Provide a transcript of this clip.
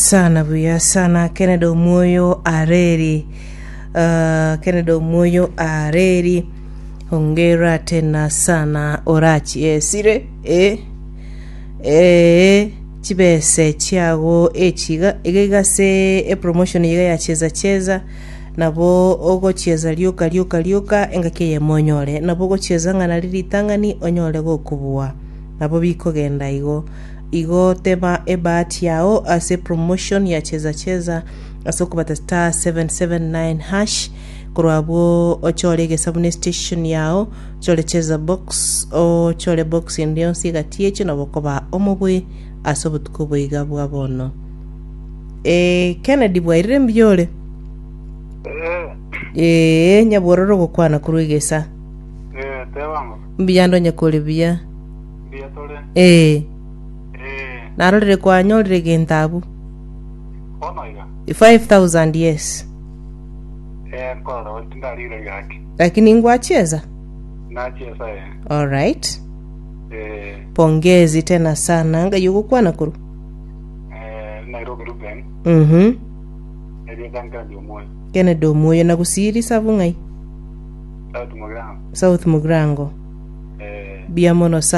sana buya sana Kennedy Omwoyo Areri uh, Kennedy Omwoyo Areri hongera tena sana orachiesire eh eh chibese chiago echiga iga iga ase epromotion iga ya cheza cheza nabo ogochieza rioka rioka rioka engaki eyemo onyore nabo ogochieza ng'a nari ritang'ani onyore gokobua nabo bikogenda igo Igo teba ebahati yao ase promotion ya cheza cheza ase okobata *779 hash korwa abwo ochore egesabu ne station yao ochore cheza box ochore box ende yonsi egati echio nabo okoba omobui ase obotuko oboiga bwa bono. Eh, Kennedy bwairire mbuya ore? Eh, Ee, nyabwororo ogokwana korwa egesa. eh, tebango. Mbuya ndonye kore buya. Mbuya tore. Ee, Ee, narorire kwanyorire egento abwo. bono iga. 5000 yes. Ee, nkorora gose tindarigereria gaki. Lakini ngwachieza? Nachiesa ee. Alright. Ee, Pongezi tena sana. Ngai ogokwana korwa? eh, Nairobi Ruben, Mhm. erieta Kennedy Omwoyo. Kennedy Omwoyo na gusii risabu ng'ai? South Mugirango. South Mugirango. Ee. Buya mono sana.